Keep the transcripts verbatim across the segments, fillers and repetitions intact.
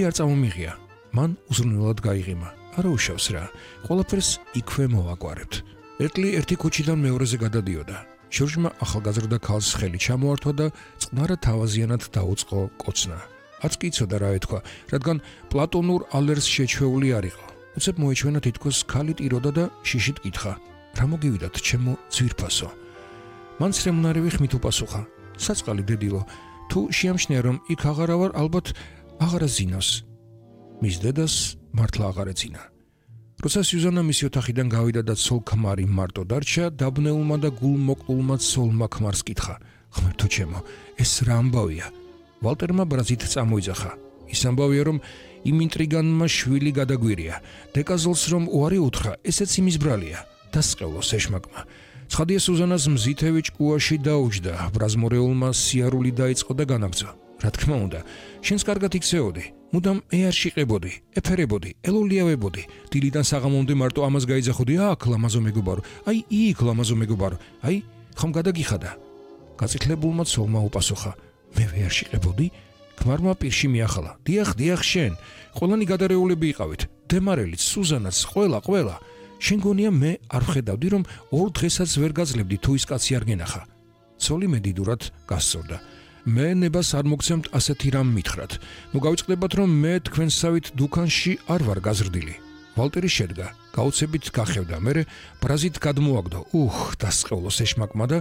არ წამომიღია. მან უზრუნველად გაიღიმა. არა უშავს რა. ყველაფერს იქვე მოვაგვარებთ. ერთლი ერთი ქუჩიდან მეორეზე გადადიოდა. ჟორჟმა ახალგაზრდა ქალს ხელი ჩამოართვა და წყნარად თავაზიანად დაუწყო კოცნა. არც კი იცოდა რა ეთქვა, რადგან პლატონურ ალერს შეჩვეული არ იყო. უცებ მოეჩვენა თითქოს ქალი ტიროდა და შიშით კითხა: რა მოგივიდათ, ჩემო ძვირფასო? მან სრემუნარივი ხმით უპასუხა: საწყალი დედილო, თუ შეამჩნია რომ იქ აღარა ვარ, ალბათ აღარა ზინავს. მის დედას მართლა აღარ ეძინა. როცა სიუზანა მისი ოთახიდან გავიდა და ცოლ ქმარი მარტო დარჩა, დაბნეულმა და გულმოკლულმა ცოლმა ქმარს კითხა: ღმერთო ჩემო, ეს რა ამბავია? ვალტერმა ბრაზით წამოიძახა. ის ამბავია რომ იმ ინტრიგანმა შვილი გადაგვირია. დეკაზოლს რომ უარი უთხრა, ესეც იმის ბრალია. დასყევლოს ეშმაკმა. ცხადია სუზანას მზითევი ჭკუაში დაუჯდა, ბრაზმორეულმა სიარული დაიწყო და განაგრძო. რა თქმა უნდა, შენს კარგად იქცეოდი. მუდამ ეარში ყებოდი, ეფერებოდი, ელოლიავებოდი. დილიდან საღამომდე მარტო ამას გაიძახოდი: აქ ლამაზო მეგობარო, აი იქ ლამაზო მეგობარო, აი ხომ გადაგიხადა? გაწითლებულმა ცოლმა უპასუხა: მე ვეარში ყებოდი? ქმარმა პირში მიახალა: დიახ, დიახ შენ, ყველანი გადარეულები იყავით, დემარელიც, სუზანაც, ყველა, ყველა. შენ გონია მე არ ვხედავდი რომ ორ დღესაც ვერ გაძლებდი თუ ის კაცი არ გენახა. ცოლი მედიდურად გასწორდა. მე ნებას არ მოგცემთ ასეთი რამ მითხრათ. ნუ გავიწყდებათ რომ მე თქვენსავით დუქანში არ ვარ გაზრდილი. ვალტერი შედგა, გაუცებით გახევდა, მერე ბრაზით გადმოაგდო. უხ, დასყევლოს ეშმაკმა და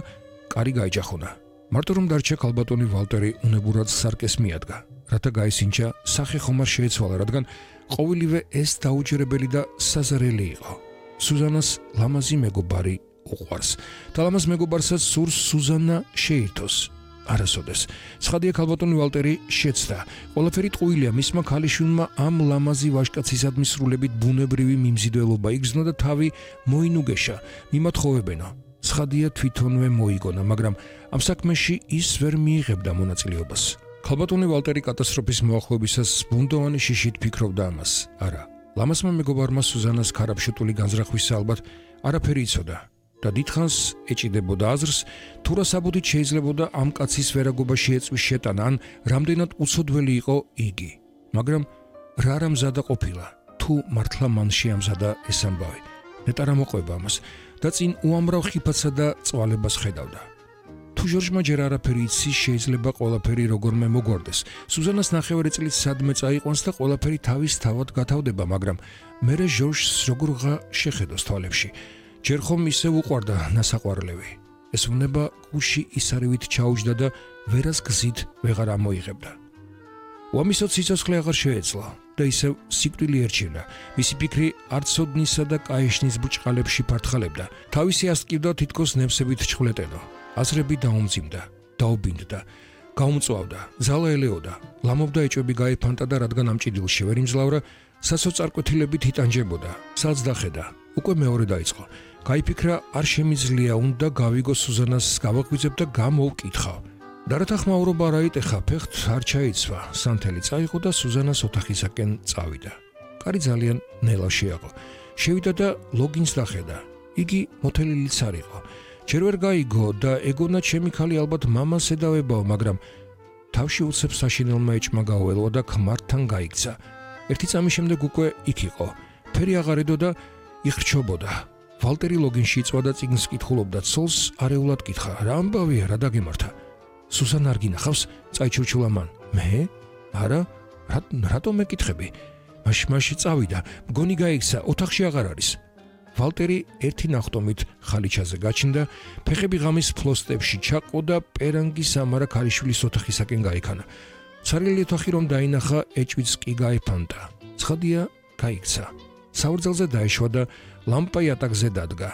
კარი გაიჯახუნა. მარტო რომ დარჩა ქალბატონი ვალტერი უნებურად სარკეს მიადგა, რათა გაისინჯა სახე ხომ არ შეეცვალა, რადგან ყოველივე ეს დაუჯერებელი და საზარელი იყო. სუზანას ლამაზი მეგობარი უყვარს და ლამაზ მეგობარსაც სურს სუზანა შეირთოს. არასოდეს. ცხადია ქალბატონი ვალტერი შეცდა. ყველაფერი ტყუილია მისმა ქალიშვილმა ამ ლამაზი ვაჟკაცისადმი სრულებით ბუნებრივი მიმზიდველობა იგრძნო და თავი მოინუგეშა, მიმათხოვებენო. ცხადია თვითონვე მოიგონა, მაგრამ ამ საქმეში ის ვერ მიიღებდა მონაწილეობას. ქალბატონი ვალტერი კატასტროფის მოახლოებისას ბუნდოვანი შიშით ფიქრობდა ამას. არა, ლამაზმა მეგობარმა სუზანას ქარაფშუტული განზრახვისა ალბათ არაფერი იცოდა. და დიდხანს ეჭიდებოდა აზრს, თუ რა საბუდით შეიძლებოდა ამ კაცის ვერაგობაში ეწვის შეტანა, ან რამდენად უცოდველი იყო იგი. მაგრამ რა რა მზადა ყოფილა, თუ მართლა მან შეამზადა ეს ამბავი. ნეტარა მოყვება ამას და წინ უამრავ ხიფათსა და წვალებას ხედავდა. თუ ჟორჟმა ჯერ არაფერი იცის, შეიძლება ყველაფერი როგორმე მოგვარდეს. სუზანას ნახევარი წლით სადმე წაიყვანს და ყველაფერი თავის თავად გათავდება, მაგრამ მერე ჟორჟს როგორღა შეხედოს თვალებში. ჯერ ხომ ისევ უყვარდა ნასაყვარლევი. ეს უნება გუში ისარივით ჩაუჯდა და ვერას გზით ვეღარ ამოიღებდა. უამისოდ სიცოცხლე აღარ შეეცლა და ისევ სიკვდილი ერჩივნა. მისი ფიქრი არცოდნისა და კაეშნის ბრჭყალებში ფართხალებდა. თავისი ასტკივდა თითქოს ნემსებით ჩხვლეტენო. აზრები დაუმძიმდა, დაუბინდდა, გაუმწვავდა, ზალა ელეოდა, ლამობდა ეჭვები გაიფანტა და რადგან ამ ჭიდილში ვერ იმძლავრა, სასოწარკვეთილებით იტანჯებოდა, სალს დახედა, უკვე მეორე დაიწყო. გაიფიქრა, არ შემიძლია უნდა გავიგო სუზანას, გავაღვიძებ და გამოვკითხავ. და რათა ხმაურობა არ აიტეხა, ფეხთ არ ჩაიცვა, სანთელი წაიღო და სუზანას ოთახისაკენ წავიდა. კარი ძალიან ნელა შეაყო. შევიდა და ლოგინს დახედა. იგი მოთელილიც არ იყო. ჯერ ვერ გაიგო და ეგონა ჩემი ქალი ალბათ მამას ედავებაო, მაგრამ თავში უცებ საშინელმა ეჭმა გაუელვა და ქმართან გაიქცა. ერთი წამის შემდეგ უკვე იქ იყო. ფერი აღარ ედო და იხრჩობოდა. ვალტერი ლოგინში იწვა და წიგნს კითხულობდა, ცოლს არეულად კითხა: რა ამბავია, რა დაგემართა? სუზანა არ გინახავს? წაიჩურჩულა მან. მე? არა, რატომ მეკითხები? მაშ-მაშ წავიდა, მგონი გაიქცა, ოთახში აღარ არის. ვალტერი ერთი ნახტომით ხალიჩაზე გაჩნდა, ფეხები ღამის ფლოსტებში ჩაყო და პერანგის ამარა ქალიშვილის ოთახისაკენ გაიქანა. ცარიელი ოთახი რომ დაინახა, ეჭვიც კი გაიფანტა. ცხადია, გაიქცა. საურძელზე დაეშვა და ლამპა იატაკზე დადგა.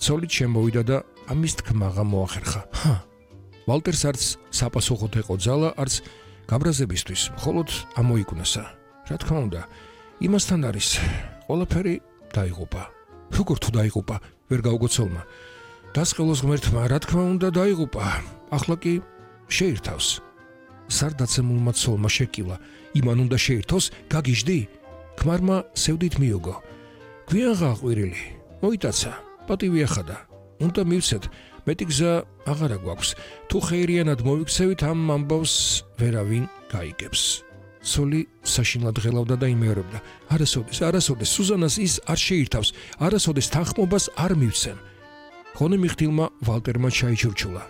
ცოლით შემოვიდა და ამის თქმაღა მოახერხა. ჰა, ვალტერს არც საპასუხოდ ეყო ძალა, არც გაბრაზებისთვის, მხოლოდ ამოიკვნესა. რა თქმა უნდა, იმასთან არის, ყველაფერი დაიღუპა. როგორ თუ დაიღუპა, ვერ გაუგო ცოლმა. დასყელოს ღმერთმა, რა თქმა უნდა დაიღუპა. ახლა კი შეირთავს. სარდაცემულმა ცოლმა შეკილა. იმან უნდა შეირთოს, გაგიჟდი? ქმარმა სევდით მიოგო. გვიან გაყვირილი, მოიტაცა, პატივი ახადა. უნდა მივცეთ, მეტი გზა აღარა გვაქვს. თუ ხეირიანად მოვიქცევით, ამ ამბავს ვერავინ გაიგებს. სოლი საშინლად ღელავდა და იმეორებდა. არასოდეს, არასოდეს, სუზანას ის არ შეირთავს, არასოდეს თანხმობას არ მივცემ. ხონე მიხtildeმა ვალტერმა ჩაიჩურჩულა.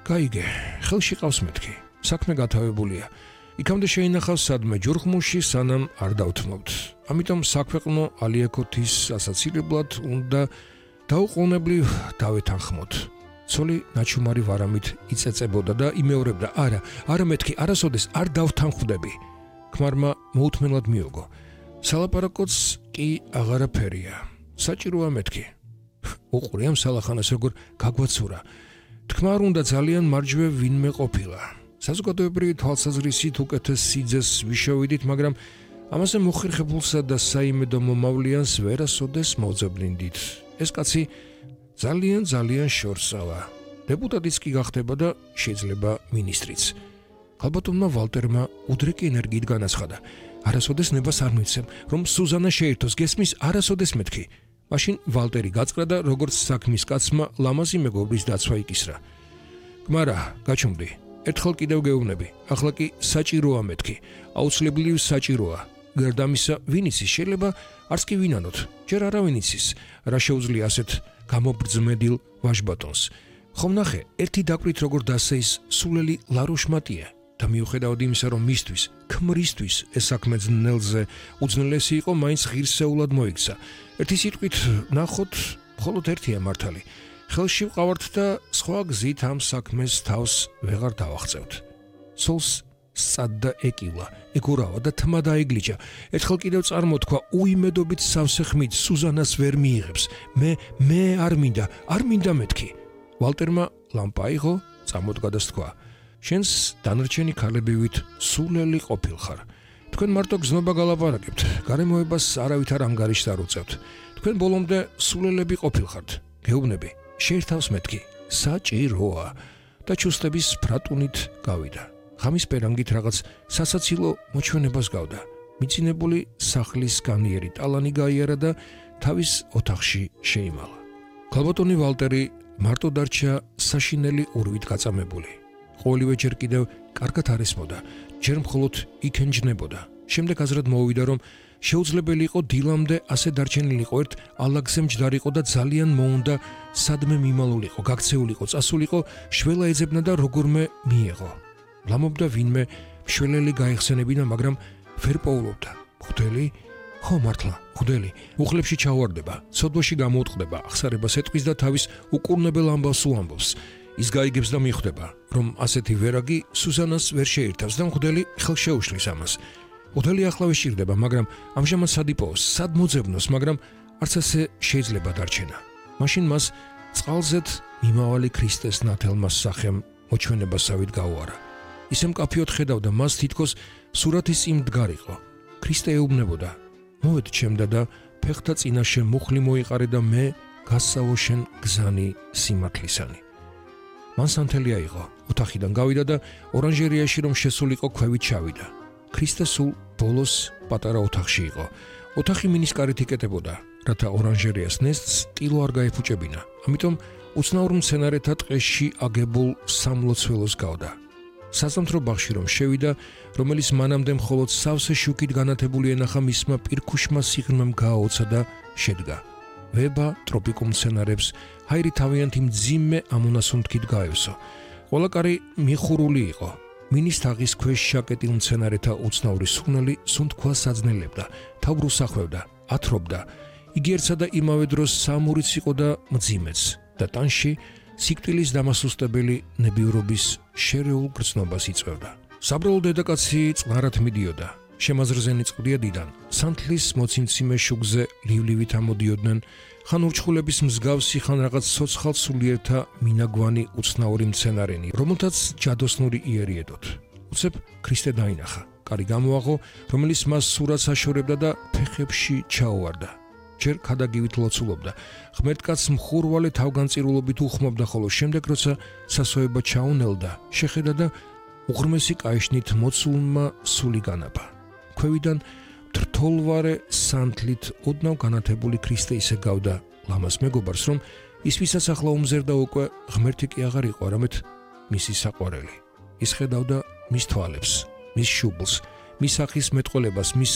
გაიგე, ხელში ყავს მეთქი. საქმე გათავებულია. იქამდე შეინახავს სადმე ჯურხმულში, სანამ არ დავთმობთ. ამიტომ საქვეყნო ალიაკოთის ასაცილებლად უნდა დაუყოვნებლივ დავეთანხმოთ. სოლი ნაჩუმარი ვარამით იწეწებოდა და იმეორებდა. არა, არა მეთქი, არასოდეს არ დავთანხმდები. ქმარმა მოუთმენლად მიოგო. სალაპარაკოც კი აღარაფერია. საჭიროა მეთქი. უყური ამ სალახანას როგორ გაგვაცურა. თქმა არ უნდა ძალიან მარჯვე ვინმე ყოფილა. საზოგადოებრივი თვალსაზრისით უკეთეს სიძეს ვიშოვიდით, მაგრამ ამაზე მოხერხებულსა და საიმედო მომავლიანს ვერასოდეს მოძებნიდით. ეს კაცი ძალიან ძალიან შორსავა. დეპუტატიც კი გახდება და შეიძლება მინისტრიც. ალბათონმა ვალტერმა უდრეკი ენერგიით განაცხადა. არასოდეს ნებას არ მიცემ, რომ სუზანა შეირთოს, გესმის, არასოდეს მეთქი. მაშინ ვალტერი გაწყდა და როგორც საქმის კაცმა ლამაზი მეგობრის დაცვა იკისრა. გმარა, გაჩუმდი. ერთხელ კიდევ გეუბნები, ახლა კი საჭიროა მეთქი. აუცილებლივ საჭიროა. გარდა ამისა, ვინ იცის, შეიძლება არც კი ვინანოთ. ჯერ არავინ იცის, რა შეუძლია ასეთ გამობრძმედილ ვაჟბატონს. ხომ ნახე, ერთი დაკვირით როგორ დასეის სულელი ლარუშმატია და მიუხედავად იმისა, რომ მისთვის, ქმრისთვის ეს საქმე ძნელზე უძნელესი იყო, მაინც ღირსეულად მოიქცა. ერთი სიტყვით ნახოთ, მხოლოდ ერთია მართალი. ხელში ვყავართ და სხვა გზით ამ საქმეს თავს ვეღარ დავახწევთ. სულს სცადდა ეკილა, ეგურავა და თმა დაიგლიჯა. ერთხელ კიდევ წარმოთქვა, უიმედობით სავსე ხმით სუზანას ვერ მიიღებს. მე მე არ მინდა, არ მინდა მეთქი. ვალტერმა ლამპა აიღო, წამოდგა და თქვა: შენს დანარჩენი ქალებივით სულელი ყოფილხარ. თქვენ მარტო გზნობა გალაპარაკებთ, გარემოებას არავით არ ანგარიშს არ უწევთ. თქვენ ბოლომდე სულელები ყოფილხართ. გეუბნები, შეერთავს მეთქი, საჭიროა და ჩუსტების ფრატუნით გავიდა. ღამის პერანგით რაღაც სასაცილო მოჩვენებას გავდა. მიცინებული სახლის განიერი ტალანი გაიარა და თავის ოთახში შეიმალა. ქალბატონი ვალტერი მარტო დარჩა საშინელი ურვით გაწამებული. ყოველივე ჯერ კიდევ კარგად არ ესმოდა, ჯერ მხოლოდ იქენჯნებოდა. შემდეგ აზრად მოუვიდა, რომ შეუძლებელი იყო დილამდე ასე დარჩენილიყო, ერთ ალაგზე მჯდარიყო და ძალიან მოუნდა სადმე მიმალულიყო, გაქცეულიყო, წასულიყო, შველა ეძებნა და როგორმე მიეღო. ლამობდა ვინმე მშველელი გაეხსენებინა, მაგრამ ვერ პოულობდა. ხუდელი? ხო, მართლა, ხუდელი. უხლებში ჩავარდება, ცოდვაში გამოუტყდება, ახსარებას ეტყვის და თავის უკურნებელ ამბავს უამბობს. ის გაიგებს და მიხვდება, რომ ასეთი ვერაგი სუზანას ვერ შეერთავს და ხუდელი ხელს შეუშლის ამას. ხუდელი ახლავე სჭირდება, მაგრამ ამჟამად სად იპოვოს, სად მოძებნოს, მაგრამ არც ასე შეიძლება დარჩენა. მაშინ მას წყალზეთ მიმავალი ქრისტეს ნათელმას სახემ მოჩვენებასავით გაუარა. ისე მკაფიოდ ხედავდა, მას თითქოს სურათის წინ მდგარიყო. ქრისტე ეუბნებოდა: მოვედ ჩემდა და ფეხთა წინაშე მუხლი მოიყარე და მე გასსავო შენ გზანი სიმართლისანი. მან სანთელი აიღო, ოთახიდან გავიდა და ორანჟერიაში რომ შესულიყო ქვევით ჩავიდა. ქრისტე სულ ბოლოს პატარა ოთახში იყო. ოთახი მინისკარით იკეტებოდა, რათა ორანჟერიას ნესტს ტილო არ გაეფუჭებინა. ამიტომ უცნაურ მცენარეთა ტყეში აგებულ სამლოცველოს გავდა. საზამთრო ბაღში რომ შევიდა, რომელიც მანამდე მხოლოდ სავსე შუქით განათებული ენახა, მისმა პირქუშმა სიღრმემ გააოცა და შედგა. ვება ტროპიკულ მცენარებს ჰაირი თავიანთი მძიმე ამონასუნთქით გაევსო. ყველა კარი მიხურული იყო. მინის თაღის ქვეშ შაკეტილ მცენარეთა უცნაური სუნელი სუნთქვას აძნელებდა, თავბრუს ახვევდა, ათრობდა. იგი ერთსა და იმავე დროს სამურიც იყო და მძიმეც და ტანში სიკვდილის დამასუსტებელი ნებიურობის შერეულ გრძნობას იწვევდა. საბრალო დედაკაცი წყნარად მიდიოდა. შემაზრზე ნიწყდია დიდან. სანთლის მოციმციმე შუგზე ლივლივით ამოდიოდნენ, ხან ურჩხულების მსგავსი, ხან რაღაც ცოცხალ სულიერთა მინაგვანი უცნაური მცენარენი, რომელთაც ჯადოსნური იერი ედოთ. უცებ ქრისტე დაინახა. კარი გამოაღო, რომელიც მას სურათს აშორებდა და ფეხებში ჩაუვარდა. ჯერ ქადაგივით ლოცულობდა. ღმერთკაც მხურვალე თავგანწირულობით უხმობდა, ხოლო შემდეგ როცა სასოება ჩაუნელდა, შეხედა და უღრმესი კაიშნით მოცულმა სული განაბა. ქვევიდან თრთოლვარე სანთლით ოდნავ განათებული ქრისტე ისე გავდა ლამას მეგობარს, რომ ის ვისაც ახლა უმზერდა უკვე ღმერთი კი აღარ იყო, არამედ მისი საყვარელი. ის ხედავდა მის თვალებს, მის შუბლს, მის სახის მეტყოლებას მის